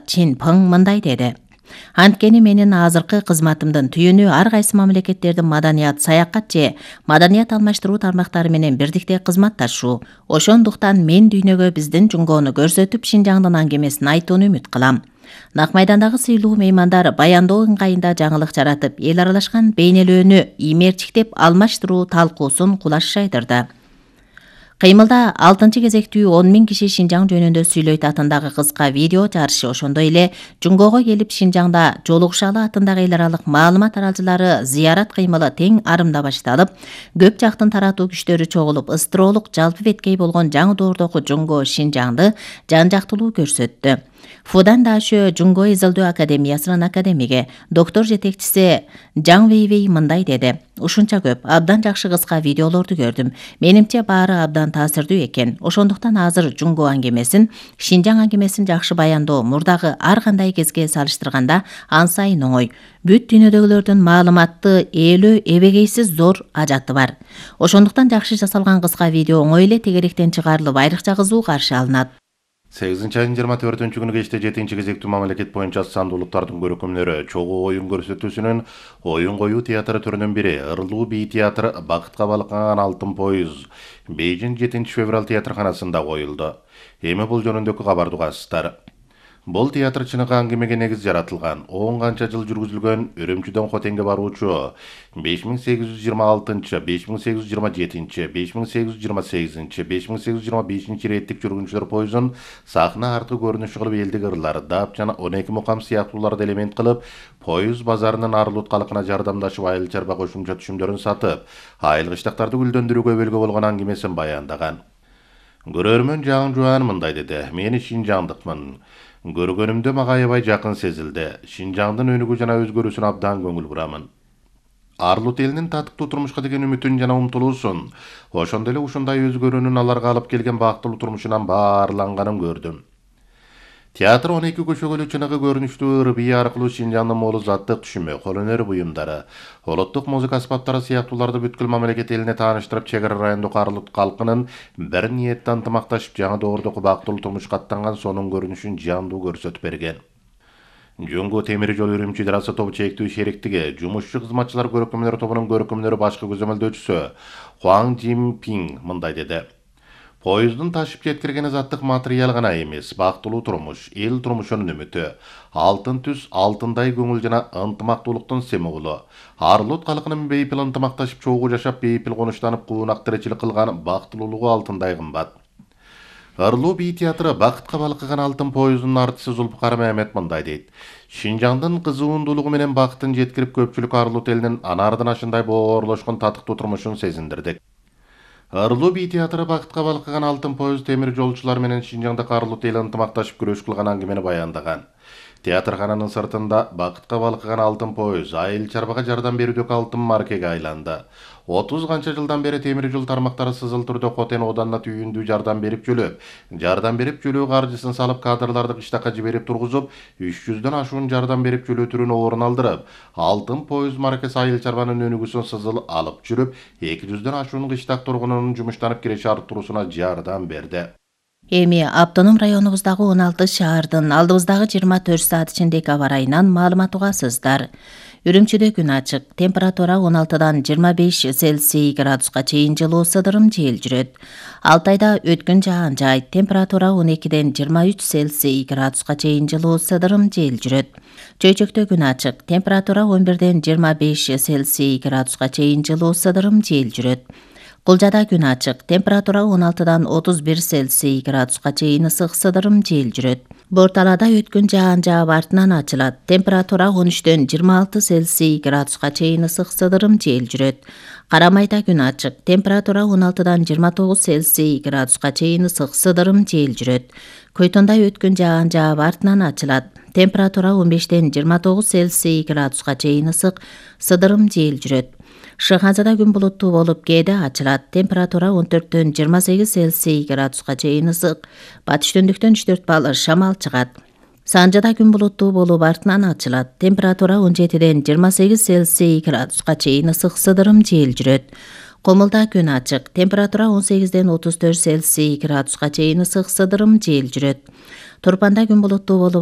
Чин Пың мындай деди. Анткени менин азыркы кызматымдын түйүнү ар кайсы мамлекеттердин маданият, саякат же маданият алмаштыруу тармактары менен бирдикте кызматташуу. Ошондуктан мен дүйнөгө биздин Жунгону көрсөтүп, Шинжаңдын аңгемесин айтууну үмүт кылам. Нак майдандагы сыйлуу меймандар баяндоо ыңгайында жаңылык жаратып, эл аралашкан бейнелөөнү иймерчиктеп алмаштыруу талкуусун кулаш жайдырды. Кыймылда 6-кезектүү 10 000 киши Шинжаң жөнүндө сүйлөйт атындагы кыска видео жарышы, ошондой эле Жунгого келип Шинжаңда жолугушалы атындагы эл аралык маалымат таралчылары зыярат кыймылы тең арымда башталып, көп жактын таратуу күчтөрү чогулуп, ыстролук жалпы беткей болгон жаңы доордогу Жунго Шинжаңды жан жактылуу көрсөттү. Фудан Дашө Жунго изилдөө академиясынын академиги, доктор жетекчиси Жаң Вейвей мындай деди. Ушунча көп, абдан жакшы кыска видеолорду көрдүм. Менимче баары абдан таасирдүү экен. Ошондуктан азыр Жунго аңгемесин, Шинжаң аңгемесин жакшы баяндоо мурдагы ар кандай кезге салыштырганда ансайын оңой. Бүт дүйнөдөгүлөрдүн маалыматты ээлөө эбегейсиз зор ажаты бар. Ошондуктан жакшы жасалган кыска видео оңой эле тегеректен чыгарылып, айрыкча кызуу каршы алынат. 8-айдын 24-күнү кечте 7-кезектүү мамлекет боюнча сандуу улуттардын көркөмдөрү чогуу оюн көрсөтүүсүнүн оюн коюу театры түрүнүн бири Ырлуу бий театры Бакытка балкыган алтын поюз Бейжиң 7-февраль театрканасында коюлду. Эми бул жөнүндөгү кабарды угасыздар. Бул театр чыныгы аңгемеге негиз жаратылган, 10 канча жыл жүргүзүлгөн Үрүмчүдөн Хотенге баруучу 5826, 5827, 5828, 5825 реттик жүргүнчүлөр поюзун сахна аркы көрүнүшү кылып элдик ырлар, дап жана 12 мукам сыяктууларды элемент кылып, поюз базарынын Арлут калкына жардамдашып, айыл чарба кошумча түшүмдөрүн сатып, айыл кыштактарды гүлдөндүрүүгө өбөлгө болгон аңгемесин баяндаган. Көрөрмөн Жаң Жуан мындай деди. Мен Шинжаңдыкмын. Көргөнүмдө мага аябай жакын сезилди. Шинжаңдын өнүгүү жана өзгөрүүсүнө абдан көңүл бурамын. Арлут элинин татыктуу турмушка деген үмүтүн жана умтулуусун, ошондой эле ушундай өзгөрүүнүн аларга алып келген бактылуу турмушунан баарланганын көрдүм. Театр 12 көчөгөлүү чыныгы көрүнүштүү ыр бий аркылуу Шинжаңдын молу заттык түшүмү, кол өнөр буюмдары, улуттук музыка аспаптары сыяктууларды бүткүл мамлекет элине тааныштырып, чек ара райондогу Арлут калкынын бир ниетте ынтымакташып жаңы доордогу бактылуу турмушка аттанган сонун көрүнүшүн жандуу көрсөтүп берген. Жунго темир жол Үрүмчү Трасса тобу чектүү шериктиги, жумушчу кызматчылар көркөмдөр тобунун көркөмдөрү башкы көзөмөлдөөчүсү Хуаң Жинпинг мындай деди. Поюздун ташып жеткирген заттык материал гана эмес, бактылуу турмуш, эл турмушунун үмүтү, алтын түс, алтындай көңүл жана ынтымактуулуктун символу. Арлут калкынын бейпил ынтымакташып чогуу жашап, бейпил конуштанып, куунак тиричилик кылган бактылуулугу алтындай кымбат. Ырлуу бий театры Бакытка балкыган алтын поюздунун артисти Зулпукар Мehmet мындай дейт. Шинжаңдын кызуундуулугу менен бактын жеткирип, көпчүлүк Арлут элинин анардан ашындай боорлошкон татыктуу турмушун сезиндирдик. Ырлуу бий театры Бакытка балкыган алтын поюз темир жолчулар менен Шинжаңдагы Арлут эли ынтымакташып күрөш кылган аңгемени баяндаган. Театркананын сыртында Бакытка балкыган алтын поюз айыл чарбага жардам берүүдөгү алтын маркеге айланды. 30 канча жылдан бери темир жол тармактары сызыл түрдө Хотен оданына түйүндүү жардам берип жөлөө каржысын салып, кадрларды кыштакка жиберип тургузуп, 300дөн ашуун жардам берип жөлөө түрүн орун алдырып, алтын поюз маркасы айыл чарбанын өнүгүүсүн сызыл алып жүрүп, 200дөн ашуун кыштак тургунунун жумуштанып киреше арттыруусуна жардам берди. Эми автоном районубуздагы 16 шаардын алдыбыздагы 24 саат ичиндеги аба ырайынан маалымат угасыздар. Үрүмчүдө күн ачык, температура 16дан 25 Цельсий градуска чейин жылуу сыдырым жел жүрөт. Алтайда өткүн жаан жайт, температура 12ден 23 Цельсий градуска чейин жылуу сыдырым жел жүрөт. Чөйчөктө күн ачык, температура 11ден 25 Цельсий градуска чейин жылуу сыдырым жел жүрөт. Кулжада күн ачык, температура 16дан 31 Цельсий градуска чейин ысык сыдырым жел жүрөт. Борталада өткүн жаан жаап артынан ачылат, температура 13ден 26 Цельсий градуска чейин ысык сыдырым жел жүрөт. Карамайда күн ачык, температура 16дан 29 Цельсий градуска чейин ысык сыдырым жел жүрөт. Көйтөндө өткүн жаан жаап артынан ачылат, температура 15ден 29 Цельсий градуска чейин ысык сыдырым жел жүрөт. Шыгазада күн булуттуу болуп, кээде ачылат, температура 14ден 28 Цельсий градуска чейин ысык, батыш түндүктөн 3-4 балл шамал чыгат. Санжада күн булуттуу болуп, артынан ачылат, температура 17ден 28 Цельсий градуска чейин ысык сыдырым жел жүрөт. Комулда күн ачык, температура 18ден 34 Цельсий градуска чейин ысык сыдырым жел жүрөт. Турпанда күн булуттуу болуп